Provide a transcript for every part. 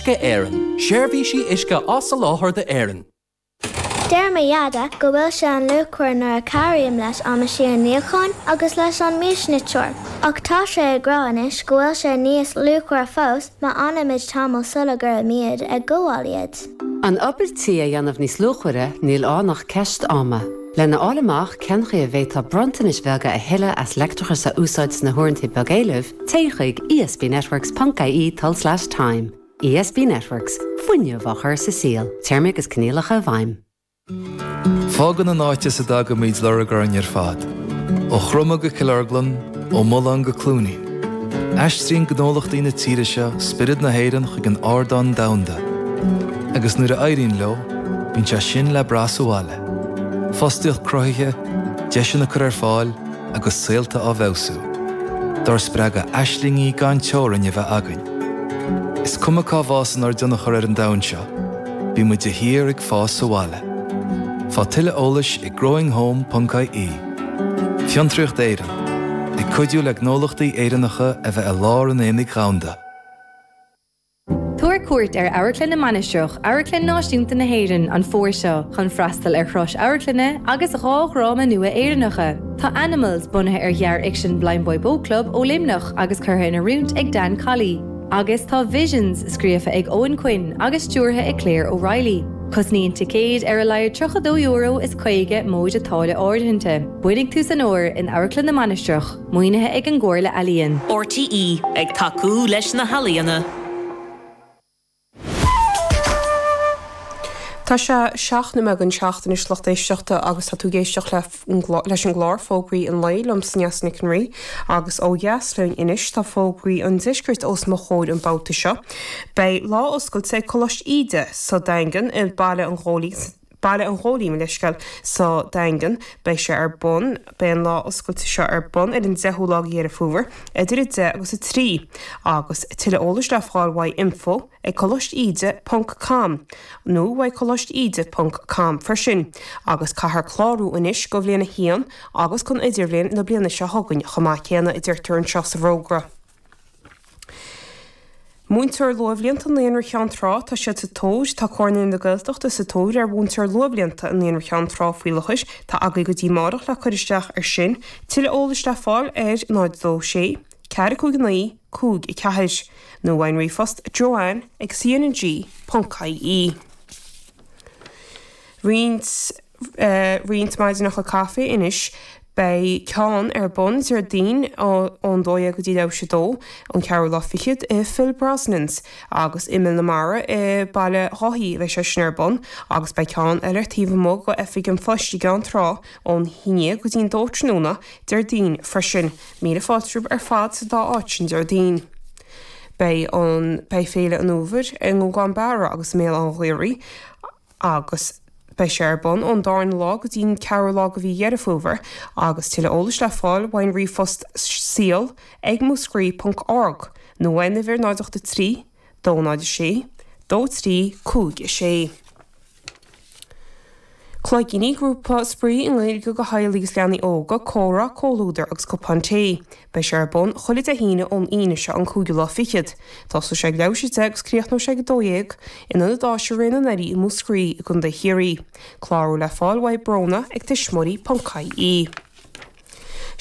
Uisce Éireann, seirbhísí uisce á soláthar d'Éirinn. Deir mo Dheaide go bhfuil sé an luachmhar nuair a cabhraím leis an meaisín níocháin agus leis an miasniteoir. Ach tá sé ag rá anois go bhfuil sé níos luachmhaire fós má fhanaimid tamall sula gcuirimid ag gabháil iad. An obair tí a dhéanamh níos luachmhaire, níl ann ach ceist ama. Lena fháil amach cén chaoi a bhféadfá bronntanais bheaga a thuilleadh as leictreachas a úsáid sna huaireanta beag-éilimh, téigh chuig esbnetworks ponc ie tulslais time. ESB Networks, fuinneamh á chur sa saol, téarmaí agus coinníollacha i bhfeidhm. Fágann an áit as a dtagaimid lorg orainn ar fad, ó Chromtha go Cill Orglan, ó Mullán go Cluainín. Aistríonn gnólachtaí na tíre seo spiorad na hÉireann chuig an ardán domhanda. Agus nuair a éiríonn leo, bíonn sé sin le brath sa bhaile. Fostaíocht cruthaithe, deiseanna curtha ar fáil, agus saolta á bhfeabhsú, dár spreagadh aislingí gan teorainn a bheith againn. Is cuma cá bhfásann ár dtionchar ar an domhan seo, bíonn muid de shíor ag fás sa bhaile. Faigh tuilleadh eolais ag growinghome ponc ie. Fiontraíocht Éireann, ag cuidiú le gnólachtaí Éireannacha a bheith i lár an aonaigh dhomhanda. Tabhair cuairt ar Amharclann na Mainistreach, Amharclann Náisiúnta na hÉireann, an fómhar seo chun freastal ar thuras amharclainne agus 2 dhráma nua Éireannacha. Tá Animals, bunaithe ar ghearrfhicsean Blindboy Boatclub ó Luimneach agus curtha in oiriúint ag Dan Colley, agus tá Visions, scríofa ag Eoghan Quinn agus stiúrtha ag Claire O'Reilly. Cosnaíonn ticéid ar a laghad €32 is 50 móide táille áirithinte. Bainfidh tú san fhómhar in Amharclann na Mainistreach. Maoinithe ag an gComhairle Ealaíon. RTÉ, ag tacú leis na healaíona. Tá sé 7 nóiméad don 7 anois lucht éisteachta agus tá tú ag éisteacht leis an gclár Fógraí an Lae liomsa Neasa Nic an Rí agus ó dheas linn anois tá Fógraí an Deiscirt os mo chomhair an babhta seo. Beidh lá oscailte ag Coláiste Íde sa Daingean i Baile an Ghóilín Baile an Ghóilín, mo leithscéal, sa Daingean. Beidh sé ar bun, beidh an lá oscailte seo ar bun ar an 10ú lá de Dheireadh Fómhair, idir 10 agus 3, agus tuilleadh eolais le fáil uaidh info ag colaiste ponc com nó uaidh colaiste ponc com freisin, agus caithfear clárú anois do bhliain 1 agus don idirbhliain na bliana seo chugainn chomh maith céanna, a deirtear anseo sa bhfógra. Múinteoir Luathbhlianta Naíonra Cheann Trá, tá siad sa tóir, Tá Comhar na Gaeltachta sa tóir ar mhúinteoir luathbhlianta i Naíonra Cheann Trá faoi láthair. Tá agaibh go dtí amárach le cur isteach ar sin. Tuilleadh eolais le fáil ar 0 2 6 4 5 9 5 4 nó uaidh an ríomhphost joanne ag cnng ponc ie. Roinnt. roinnt maidineacha caife anois. Beidh ceann ar bun Déardaoin ón 12 go dtí leathuair tar éis a dó, an ceathrú lá fichead, i Phil Brosnan's agus i Mill na Mara i Baile Dháithí a bheidh sé sin ar bun agus beidh ceann eile ar taobh amuigh de Oifig an Phoist i gCeann Trá ón 11 go dtí'n 2 tráthnóna Déardaoin freisin. Míle fáilte romhaibh ar fad sa dá áit sin Déardaoin. Beidh an Beidh Féile an Fhómhair i nGúgán Beara agus i mBéal Átha an Ghaorthaidh agus beidh sé ar bun ón darna lá go dtí'n ceathrú lá de mhí Dheireadh Fómhair agus tuilleadh eolais le fáil uaidh an ríomhphost saol ag múscraí ponc org nó uaidh an uimhir 0 8 3 2 0 6 2 3 5 6. Cloigíní, grúpa spraoi i nGaeilge do theaghlaigh agus leanaí óga, comhrá, comhluadar agus cupán tae. Beidh sé ar bun chuile Dé hAoine ón Aoine seo an cúigiú lá fichead. Tosóidh sé ag leathuair tar éis a 10 agus críochnóidh sé ag 12 in Ionad Áise Ré na nDoirí i Múscraí i gContae Chiarraí. Clárú le fáil uaidh Bróna ag tuismitheoirí.ie.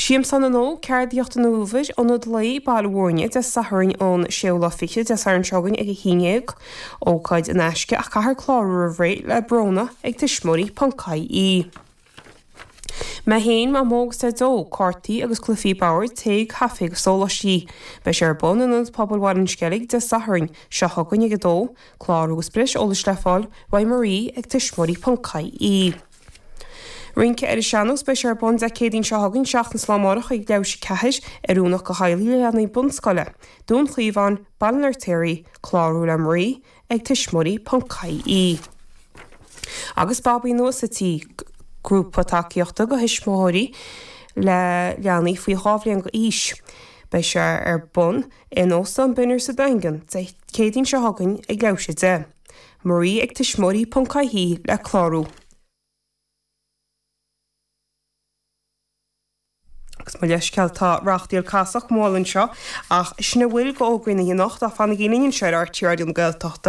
Siamsán na nÓg, Ceardaíocht an Fhómhair, Ionad Lae, Baile Mhúirne, Dé Sathairn an séú lá fichead, Dé Sathairn seo chugainn ag 11. Ócáid in aisce ach caithfear clárú roimh ré le Bróna ag tuismitheoirí.ie. Mé féin, Mamó agus Daideo, cártaí agus cluichí boird, tae, caife agus sóláistí. Beidh sé ar bun in Ionad Pobail Bhaile an Sceilg Dé Sathairn seo chugainn ag 2, Clárú agus breis eolais le fáil uaidh Marie ag tuismitheoirí.ie. Rince ar an Sean-Nós, Beidh sé ar bun Dé Céadaoin seo chugainn, seachtain is lá amárach ag leathuair tar éis a 4, oiriúnach do theaghlaigh le leanaí bunscoile. Dún Chaomháin, Baile an Fheirtéaraigh, Clárú le Marie ag tuismitheoirí.ie. Agus Babaí Nua sa Tí, grúpa tacaíochta do thuismitheoirí le leanaí faoi 2 bhliain d'aois. Beidh sé ar bun in Óstán Bynner sa Daingean Dé Céadaoin seo chugainn ag leathuair tar éis a 10. Marie ag tuismitheoirí.ie le clárú. Agus mo leithscéal, tá reachtaíl casach mall anseo, ach sin a bhfuil d'fhógraí na hoíche anocht, ach fanaigí linn anseo ar RTÉ Raidió na Gaeltachta.